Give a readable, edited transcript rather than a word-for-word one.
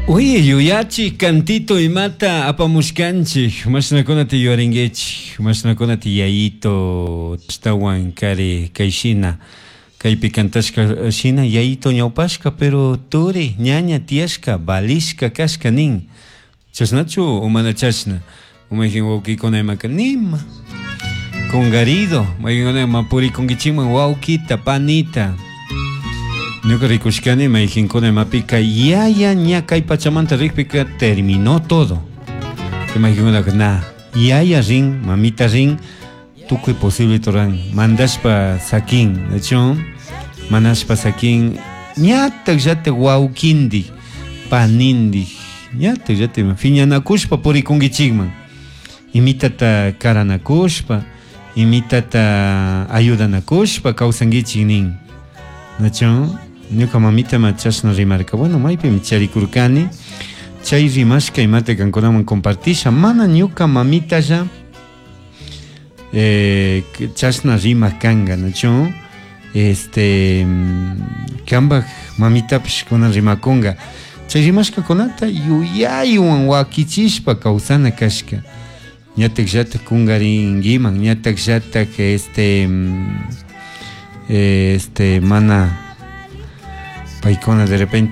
Uy, yuyachi cantito imata apamushkanchik, mashnakunata yuyarinkichik, mashnakunata yayito ashtawan kari kayshina kaypi cantashka shina yayito ñawpashka, pero turi ñaña tiyashka valishka kashka nin. Chashnachu o mana chashna? Mayqin wawkikuna imaka nima kungarido, mayqinkuna ima purikunkichikman wawkita, panita. Ñuka rikushkani mayqinkuna imapika yaya ña kay pachamanta rikpika terminó todo. Mayqinkunaka na yaya rin, mamita rin, tukuy posible turan mandashpa sakin, nachu? Manashpa sakin ñatak llatak wawkindik, panindik, ñatak llatak phiñanakushpa purikunkichikman. Imitata karanakushpa, imitata ayudanakushpa kawsankichik nin. Nachu? Ñuka mamita ma chashna rimarka. Bueno, maypimi charikurkani, chay rimashka imata kankunaman compartisha, mana ñuka mamitalla chashna rimak kanka, nachu? Kambak mamitapish kunan rimakunka. Chay rimashkakunata yuyaywan wakichishpa kawsana kashka. Ñatak llatak kunkarinkiman, ñatak llatak mana paykuna de repente.